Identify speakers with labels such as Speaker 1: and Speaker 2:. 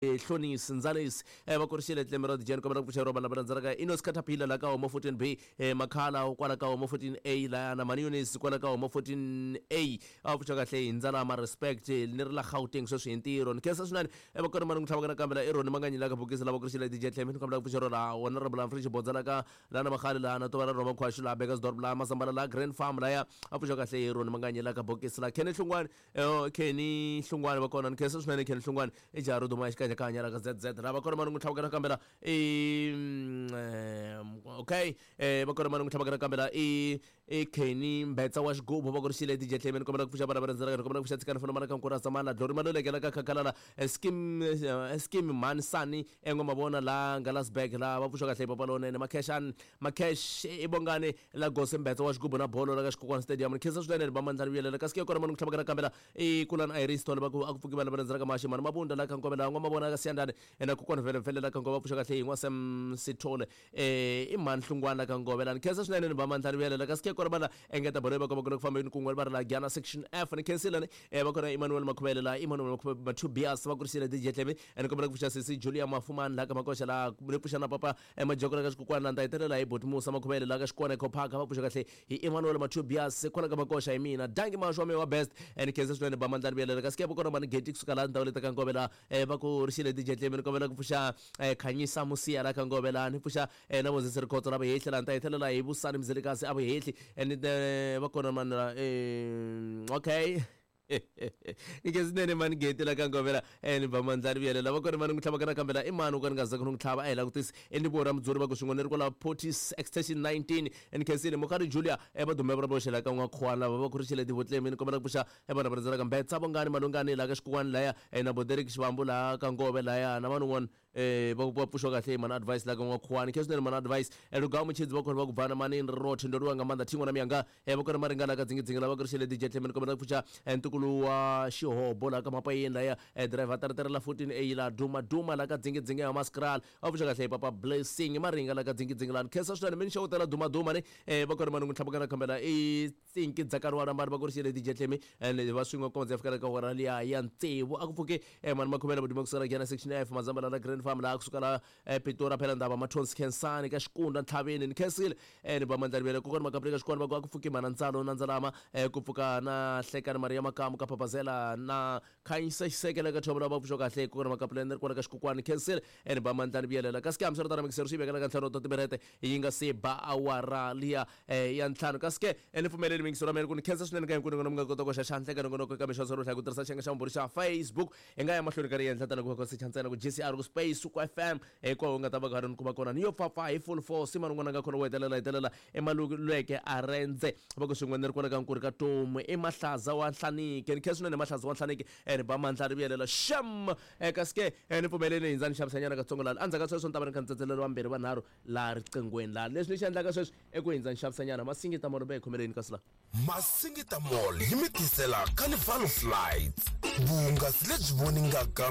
Speaker 1: Hlonisi Ndzalisi va kurixile tlembe ra dijeni kombela ku pfuxeriwa vanhu lava landzelaka Inos Caterpillar la ka Homo 14B Makhala kwala ka Homo 14A laya na Maniunis kwala ka Homo 14A a pfuxa kahle hi ndzalama respect ni ri la Gauteng sweswi hi ntirho ni khensa swinene va kona mani ku tlhava nakambe la i Roni Manganyi la ka bokisi lava kurixile DJ Tlemi ni kombela ku pfuxeriwa laha wona Honorable Humphrey Xibodza la ka la na Makhale la na Tova ra Rhoma Khwashu la Bekkersdorp la Masambala la Grand Farm laya a pfuxa kahle hi Roni Manganyi la ka bokisi la Kenny Hlungwani Kenny Hlungwani va kona ni khensa swinene Kenny Hlungwani i jaha ro duma xikanyakanya la ka ZZ lava kona mani n'wi tlhavaka nakambe la i okay va kona mani n'wi tlhavaka nakambe la i Kenny Mbetsa wa xigubu va kurixile DJ Tlemi ni kombela ku pfuxa vana va rhendzelaka ni kombela ku pfuxa tshikani fona mana ka nkura samana Glory Maluleke la ka Khakhalala Skim Skim Mhani Sani Engomavona la Ngalasberg la va pfuxa kahle papa lonene Makhexani Makhesh i Bongani la Gosi Mbetsa wa xigubu na bolo la ka Xikokwana Stadium ni khensa swinene va mandlani vuyelela kasi ke kona mani ku tlhavaka nakambe la i Kulani Iris Thole va ku a ku pfuki vana va rhendzela ka Maxi mhani Mabunda la ka Nkove la N'wamavona ka Siyandani na kokwana Vele Vele la ka Nkove va pfuxa kahle hi N'wa Sam Sithole i mhani Hlungwana la ka Nkove la ni khensa swinene ni va mandlani vuyelela kasi ke kona va engeta bolo yi va komba ku le ku fambeni kun'we va ri la Gyana section F ni khensile ni va kona Emmanuel Makhuvele la Emmanuel Mathubias va kurisile DJ Tlemi ni kombela ku pfuxa sesi Julia Mafumani la ka Makoxa la ni pfuxa na papa Majoko la ka Xikukwana la ni ta hetelela hi Boti Musa Makhuvele la ka Xikwana Eco Park va pfuxa kahle hi Emmanuel Mathubias kwala ka Makoxa hi mina danki Mashu wa mehe wa best ni khensa swinene ba mandlani vuyelela kasi ke va kona mani Geti kusuka la ndhawu leti ka Nkove la va ku rixile DJ Tlemi ni kombela ku pfuxa Khanyisa Musiya la ka Nkove la ni pfuxa na Moses Rikhotso la Vuhehli la ni ta hetelela hi Vusani Mzilikazi a Vuhehli ni va kona mani la okay ni ke swinene mani Geti la ka Nkove la ni ba mandlani vuyelela va kona mani n'wi tlhavaka nakambe la i mani u ka ni nga zanga ni n'wi tlhava a hi langutisi i ni vora mudzuri va ku swin'we ni ri kwala Portis extension 19 ni khensile Mukhari Julia va dume va voxe la ka N'wakhuwana lava va kurixile tivotlemi ni kombela ku pfuxa vanhu va rhendzelaka Mbetsa Vongani Malungani la ka Xikuwani laya na Boderek Xivambu la ka Ngove laya na vanhu un'wana va pfuxiwa kahle mani advice la ka N'wakhuwani khe swinene mani advice Lugawu Mutshidzi va khona va ku bvana mani ni rothe ndo lwiwa nga maanḓa thingo na miyanga va kona maringa la ka dzingidzingi lava kurixile DJ Tlemi ni kombela ku pfuxa ntukulu wa xihobo la ka Mapayeni laya driver teretere la 14 A la duma duma la ka dzingidzingi ya Maskral va pfuxa kahle papa Blessing Maringa la ka dzingidzingi la ni khensa swinene mi ni xewutela duma duma ni va kona mani n'wi tlhavuka na khambela i Tsinki Dzakarwana mani va kurixile DJ Tlemi and va swin'we kondza ya fikela ka hora liya ya tsevu a ku pfuke mani makhomela vuduma kusukela Gyana section F Mazambala la Grand Farm laha kusuka la Pitori phela ndava Mathonsi Khensani ka Xikunda Ntlhaveni ni khensile ni ba mandlani vele kokwana Makapula ka Xikwana va ku a ku pfuki mhana Ntsalo na Ndzalama ku pfuka na Hlekani Maria Makamu ka Phapazela na Khanyisa Xisekela ka Thobela va pfuxa kahle kokwana Makapula ni ri kwala ka Xikukwani khensile ni ba mandlani vuyelela kasi ke hambiswiritano mikisero swi vekela ka ntlhanu ta timinete yi nga se ba awara liya ya ntlhanu kasi ke ni pfumeleli mingiso ra mina ku ni khensa swinene ka hinkwenu n'wina mi nga kota ku hoxa xandla eka nongonoko eka mixo ro hlaya ku tirhisa xiyenge xa vumbirhi xa Facebook hi nga ya mahlweni ka ri endla tana ku va ku secha ntsena ku GCR ku space ku FM hinkwawo u nga ta va karhi ni kuma kona ni yo pfapfa hi full force mani n'wana nga khona wo hetelela hetelela emaluleke a rendze va ku swin'we ni ri kwala ka nkuri ka tomu i mahlaza wa nhlanike ni khensa swinene mahlaza wa nhlanike ni ba mandla ri vuyelela xem kasi ke ni pfumeleni hindza ni xavisanyana katsongo laha endzhaku ka sweswo ni ta va ni kha ni tsetselela vambirhi vanharhu laha riqinghweni laha leswi ni xi endlaka sweswi i ku hindza ni xavisanyana Masingita Mall va hi khomeleni kasi laha.
Speaker 2: Masingita Mall yi mi tisela Carnival of Lights, vuhungasi lebyi voningaka.